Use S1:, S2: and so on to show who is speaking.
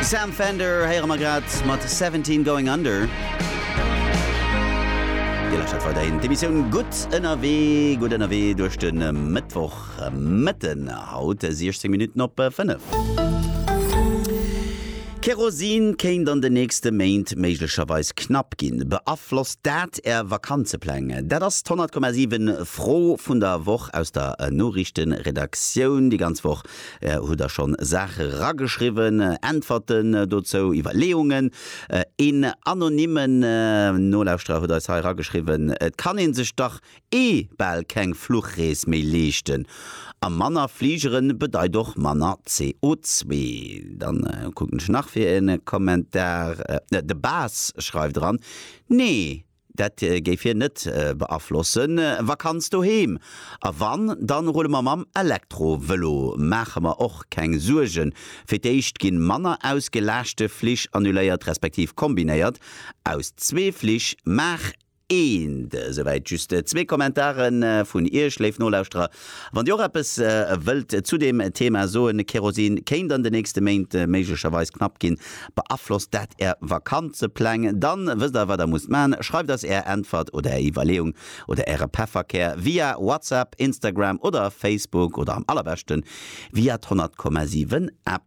S1: Sam Fender héiere mer grad mat 17 Going Under. Dir lauschtert weiderhin d'Emissioun Gutt ënnerwee, gutt ënnerwee duerch de Mëttwoch Mëtten, haut 16 Minutten op 5. Kerosin kéint an den nächste Méint méiglecherweis knapp ginn. Beaflosst dat Är Vakanzepläng? Dat ass d'100,7 Fro vun der Woch aus der Noriichtenredaktioun. Déi ganz Woch hutt der schonn Saache rageschriwwen, Äntwerten dozou, Iwwerleeungen. Een anonymmen Nolauschterer huet eis hei rageschriwwen, Et kann ee sech dach ee bal keng Fluchrees méi leeschten. A manner Fligeren bedeit och manner CO2. Dann kucken ech nach fir e Kommentar. De Bas schreift eran, Nee, dat géif hien net beaflossen. Vakanz doheem. A wann, dann rulle mer mam Elektrovëlo. Maache mer och keng Suergen. Fir d'éischt ginn manner ausgelaaschte Flich annuléiert respektiv kombinéiert. Aus zwee Flich maach Eent. Esouwäit just zwee Kommentare vun Iech, léif Nolauschterer. Wann Dir och eppes wëllt zu deem Thema soen, Kerosin kéint an de nächste Méint méiglecherweis knapp ginn, beaflosst dat Är Vakanzepläng? Dann wësst Der, wat Der musst maachen. Schreift eis Är Äntwert oder Är Iwwerleeung oder Äre Pefferkär via WhatsApp, Instagram oder Facebook oder am allerbeschten via d'100,7 App.